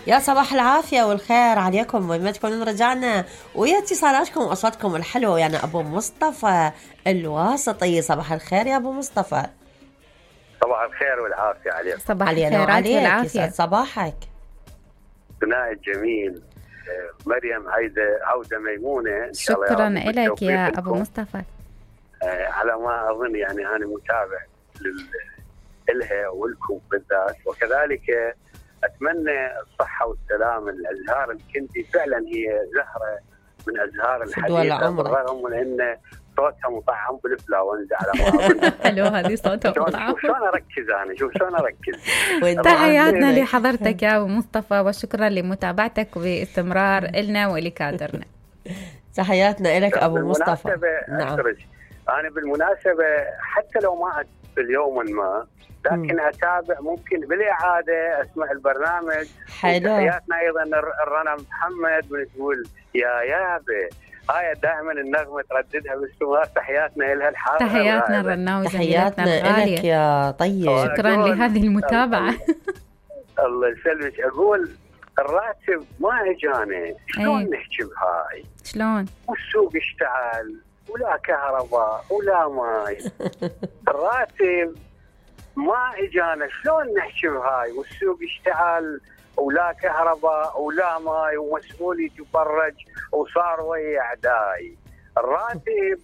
يا صباح العافية والخير عليكم، وين ما تكونون رجعنا ويا اتصالاتكم وأصواتكم الحلوة. يعني أبو مصطفى الواسطي، صباح الخير يا أبو مصطفى. صباح الخير والعافية عليكم. صباح علينا الخيرات وعليك، والعافية. يسعد صباحك. ثنائي الجميل مريم عودة ميمونة إن شاء الله. شكرا لك يا أبو مصطفى. على ما أظن يعني أنا متابع لها ولكم بالذات، وكذلك أتمنى الصحة والسلام. الأزهار الكندي فعلا هي زهرة من أزهار الحديثة، بالرغم من أن صوتها مطعم بالإنفلونزا على ما أظن. حلو، هذه صوتها مطعم. شلون أركز أنا، شوف شلون أركز. تحياتنا لحضرتك يا أبو مصطفى، وشكرا لمتابعتك وباستمرار إلنا ولكادرنا. تحياتنا لك أبو مصطفى. نعم. أنا بالمناسبة حتى لو ما أتصل يوما ما، لكن أتابع ممكن بالإعادة أسمع البرنامج. حلو. تحياتنا أيضا الرنا محمد بتقول يا يابي، هاي دائما النغمة ترددها باستمرار. تحياتنا لها الحارة. تحياتنا الرناوي، تحياتنا لك يا طيب. شكرا لهذه المتابعة. الله يسلمك. أقول الراتب ما اجاني، شلون نحكي بهاي؟ شلون؟ والسوق اشتعل ولا كهرباء ولا ماي. الراتب ما اجانا، شلون نحكي بهاي؟ والسوق اشتعل ولا كهرباء ولا ماي، ومسؤول يتفرج وصار ويا اعدائي. الراتب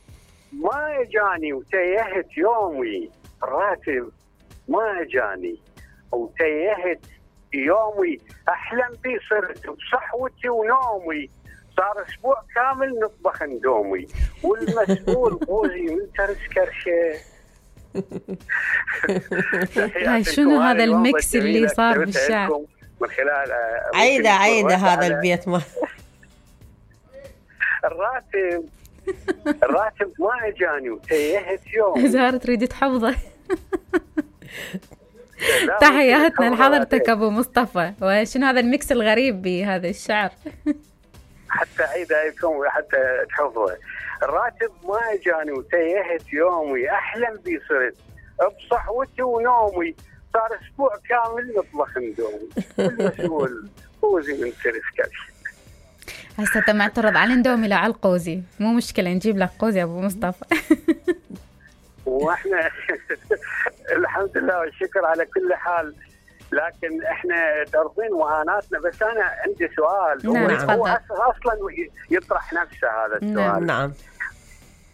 ما اجاني وتيهت يومي. الراتب ما اجاني وتيهت يومي، احلم بي صرت بصحوتي ونومي. صار اسبوع كامل نطبخ اندومي، والمسؤول قوزي من ترس كرشه. هاي شنو هذا الميكس اللي صار بالشعر؟ من خلال عيدة هذا البيت ما. الراتب ما اجاني وتيهت يوم. زهرة تريد تحفظه. تحياتنا لحضرتك أبو مصطفى. وشنو هذا الميكس الغريب بهذا الشعر؟ حتى عيدها لكم حتى تحفظه. الراتب ما اجاني وتيهت يومي، احلم بي صرت بصحوتي ونومي. صار اسبوع كامل نطبخ اندومي، والمسؤول قوزي من ترس كرش. هسه انت معترض على الاندومي لا على القوزي، مو مشكله نجيب لك قوزي يا ابو مصطفى. واحنا الحمد لله والشكر على كل حال، لكن احنا تعرفين معاناتنا. بس انا عندي سؤال. نعم. هو اصلا يطرح نفسه هذا السؤال. نعم.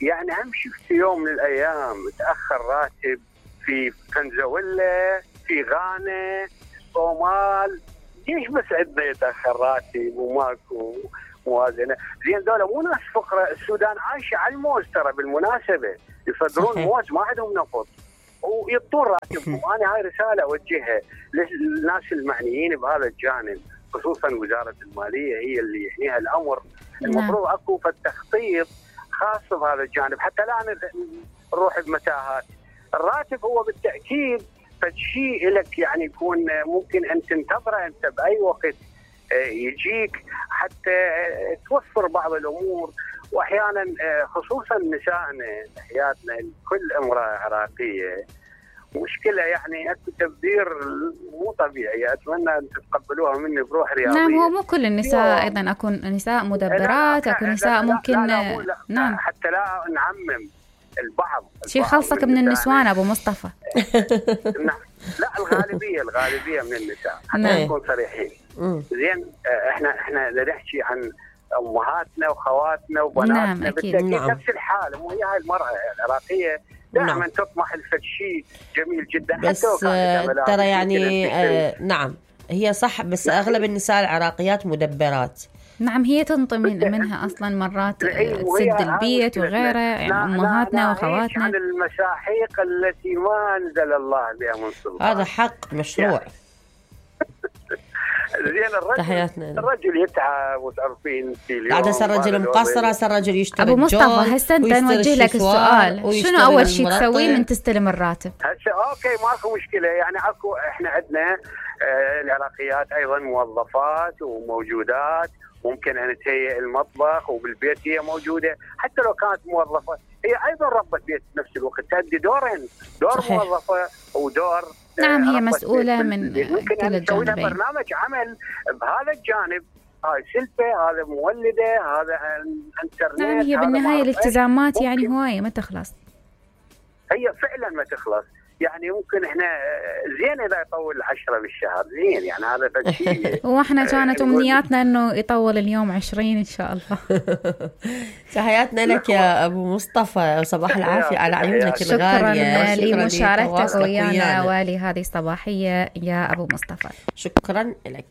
يعني هم شفت يوم من الايام تاخر راتب في فنزويلا، في غانا، الصومال. ليش بس عندنا يتاخر راتب وماكو موازنه؟ زين دولة مو ناس فقراء. السودان عايشه على الموز ترى بالمناسبه، يصدرون موز ما عندهم نفط ويطول راتبهم. انا هاي رساله اوجهها للناس المعنيين بهذا الجانب، خصوصا وزاره الماليه هي اللي يعنيها الامر. المفروض اكو التخطيط خاص بهذا الجانب حتى لا نروح بمتاهات. الراتب هو بالتاكيد فشيء لك، يعني يكون ممكن ان تنتظره انت باي وقت يجيك حتى توفر بعض الامور. واحيانا خصوصا نسائنا، تحياتنا لكل امراه عراقيه. مشكله يعني اكو تبذير مو طبيعي، اتمنى ان تتقبلوها مني بروح رياضيه. نعم، هو مو كل النساء ايضا، اكو نساء مدبرات، اكو نساء ممكن. لا نعم، حتى لا نعمم البعض. شي خلصك من النسوان ابو مصطفى. نعم. لا الغالبيه من النساء حتى نكون صريحين. زين احنا نحكي عن امهاتنا وخواتنا وبناتنا. بالتاكيد نفس الحال. وهي هاي المراه العراقيه دائما تطمح لفد شيء جميل جدا. بس ترى يعني نعم هي صح، بس اغلب النساء العراقيات مدبرات. نعم، هي تنطي منها اصلا مرات تسد البيت وغيره. يعني امهاتنا وخواتنا عن المساحيق التي ما انزل الله بها من سلطان. هذا حق مشروع. زين الرجل يتعب وتعرفين في اليوم. عاد الرجل مقصر، الرجل يشتري. ابو مصطفى هسه انت نوجه لك السؤال، شنو اول شيء تسويه من تستلم الراتب؟ هسه اوكي ماكو مشكله. يعني اكو احنا عندنا العراقيات ايضا موظفات وموجودات، ممكن ان تهيئ المطبخ وبالبيت هي موجوده. حتى لو كانت موظفه هي ايضا ربة بيت بنفس الوقت، تؤدي دورين، دور صحيح. موظفه ودور نعم، هي مسؤولة من ممكن كل يعني نسوي لها الجانبين. برنامج عمل بهذا الجانب. هاي سلفة، هذا مولدة، هذا انترنت. نعم، هي هذا بالنهاية ما أعرف الالتزامات إيش. يعني ممكن هواية ما تخلص. هي فعلا ما تخلص. يعني ممكن احنا زين اذا يطول 10 بالشهر زين، يعني هذا شيء. واحنا كانت امنياتنا انه يطول اليوم 20 ان شاء الله. تحياتنا لك يا ابو مصطفى، صباح العافيه على عيونك الغاليه. شكرا لمشاركتك لتواصلك ويانا ولهذه الصباحيه يا ابو مصطفى. شكرا لك.